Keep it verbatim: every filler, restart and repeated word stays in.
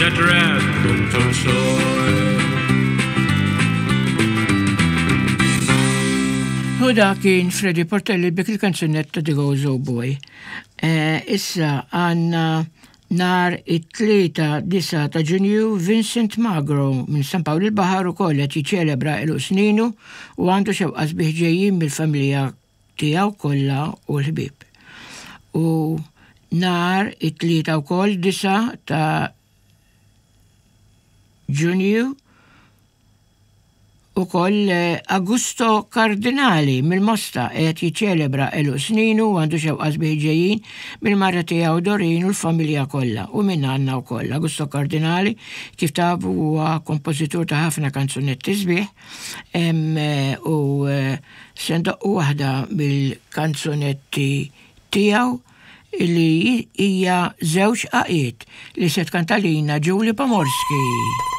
That rat cooked on soil. U da kien Freddy Portelli bik il-kanzunetta The Gozo Boy. Eh, issa għanna nar it-tlieta disa ta' Ġunju Vincent Magro minn San Pawl il-Baħar ukoll qed jiċċelebra għeluq sninu u għandu xewqa sbieħ ġejjin mill-familja tiegħu kollha u l-ħbieb. U nar it-tlieta wkoll disa ta' Ġunju ukoll eh, Augusto Cardinali mill-Mosta qed jiċċelebra għeluq sninu u għandu xewqa sbieħ ġejjin mill-mara tiegħu Dorin u l-familja kollha u minn għandna wkoll. Augusto Cardinali kif tafu huwa kompożitur ta' ħafna kanzunetti sbieħ eh, u eh, se ndoqqu waħda mill-kanzunetti tiegħu li hija żewġ għaqiet li se tkantalina Julie Pomorski.